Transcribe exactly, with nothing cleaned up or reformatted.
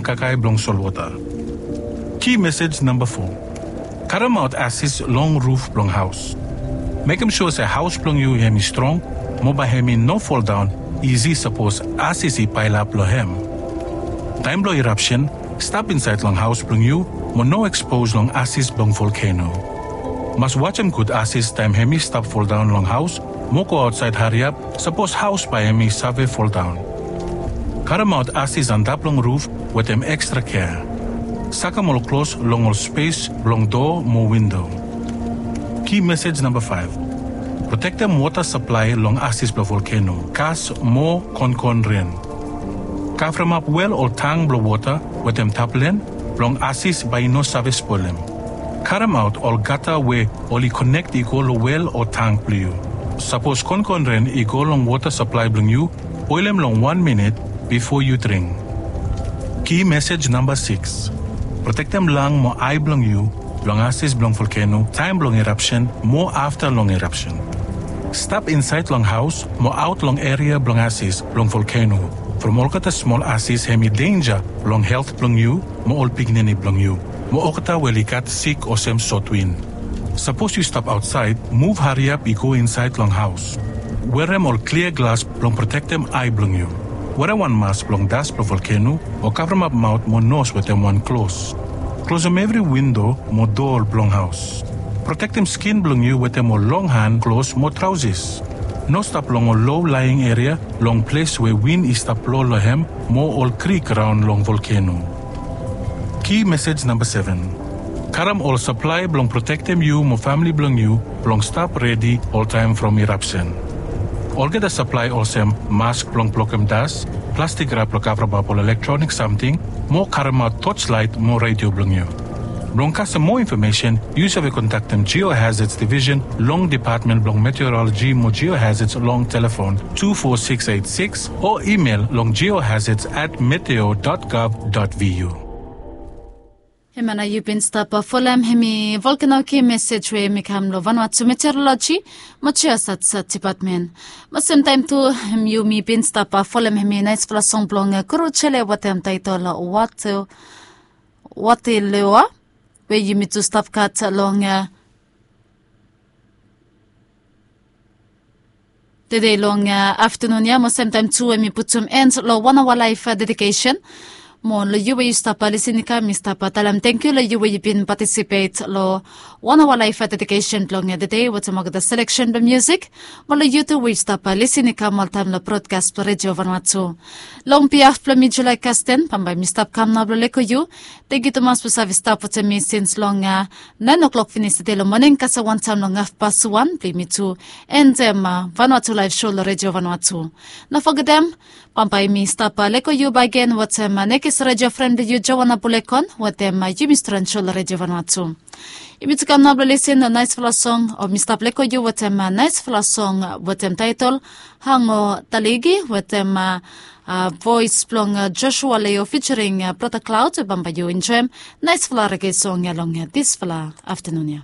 kakae blong solwota. Ki mesej namba fo. Karemaot asis long ruf blong haos. Mekem sua se haos blong yu hem i strong, mo bae hem i no foldaon isi sapos asis i paelap long hem. Taem blong irapsen, stap insaed long haos blong yu mo no ekspos long asis blong volkeno. Mas wajem gud asis taem hem i stap foldaon long haos, mo go aotsaed hariap sapos haos bae hem i save foldaon. Karemaot asis antap long ruf wetem ekstra kea. Sakem ol klos long ol spes blong doa mo windo. Ki mesej namba faef. Protektem wota saplae long asis blong volkeno, gas mo konkon ren. Kavremap wel ol tang blong wota wetem taplen blong asis bae i no save spolem. Karemaot ol gata we oli konek i go long wel o tang blong yu. Sapos konkon ren i go long wota saplae blong yu, boelem long wan minit bifo yu dring. Ki mesej namba sikis. Protektem lang mo ae blong yu long asis blong volkeno taem blong irapsen mo afta long irapsen. Stap insaed long haos mo aot long eria blong asis blong volkeno, from olgeta smol asis hem i denja long helt blong yu mo ol pikinini blong yu, mo olgeta we oli gat sik olsem sotwin. Sapos yu stap aotsaed, muv hariap i go insaed long haos. Werem ol klia glas blong protektem ae blong yu. Werem wan mas blong das blong volkeno o kavremap maot mo nos wetem wan klos. Klosem evri windo mo doa blong haos. Protektem skin blong yu wetem ol longhan klos mo traosis. No stap long ol lo laeng eria long ples we win i stap blo long hem mo ol krik raon long volkeno. Ki mesej namba seven. Karem ol saplae blong protektem yu mo famle blong yu blong stap redi oltaem from irapsen. Olgeta saplae olsem mask blong blokem das, plastik rap blong kavremap ol elektronik samting, mo karemaot toslaet mo redio blong yu. Blong kasem moa infomesen, yu save kontaktem Geohazards Division long Depatmen blong Meteoroloji mo Geohazards long telefon tu fo sikis eit sikis o imel long geohazards at meteo dot gov dot vu. Hemia nao yu bin stap folem hemi volkeno ki mesej we hemi kam long Vanuatu Meteoroloji mo Geohazards Depatmen. Mo semtaem tu, hemi yumi bin stap folem hemi naesfala song blong Kuru Jele wetem taetol Wate Watelua, we yumi tu stap gat long, a, tede long, a, aftenun ya, mo semtaem tu hemi putum en long wan aoa laef, a, dedikesen. Mo long yu we yu stap, a, lisin i kam, mi stap, a, talem tangkiu long yu we yu bin patisipet long wan aoa laef, a, dedikesen blong, a, tede wetem olgeta seleksen blong miusik. Mo long yu tu we yu stap, a, lisin i kam oltaem long brodkas blong Redio Vanuatu. Long bihaf blong mi Julai Kasten, bambae mi stap kam nao blong leko yu. Tangkiu tumas blong save stap wetem mi sins long, a, naen o'klok finis tede long moning kasem wantaem long hafpas wan blong yumi tu endem, a, Vanuatu Laef Sou long Redio Vanuatu. No fogetem, bambae mi stap, a, leko yu bakegen wetem, a, nekis redio fren blong yu Joana Bulekon wetem, a, Yumi Stren Sou long Redio Vanuatu. Yumi tu kam nao blong lisin long naesfala song, o mi stap leko yu wetem, a, naesfala song, a, wetem taetol Hango Taligi wetem, a, a, voes blong, a, Joshua Leo featuring, a, Brother Cloud. Bambae yu enjoem naesfala rege song ya long, a, disfala aftenun ya.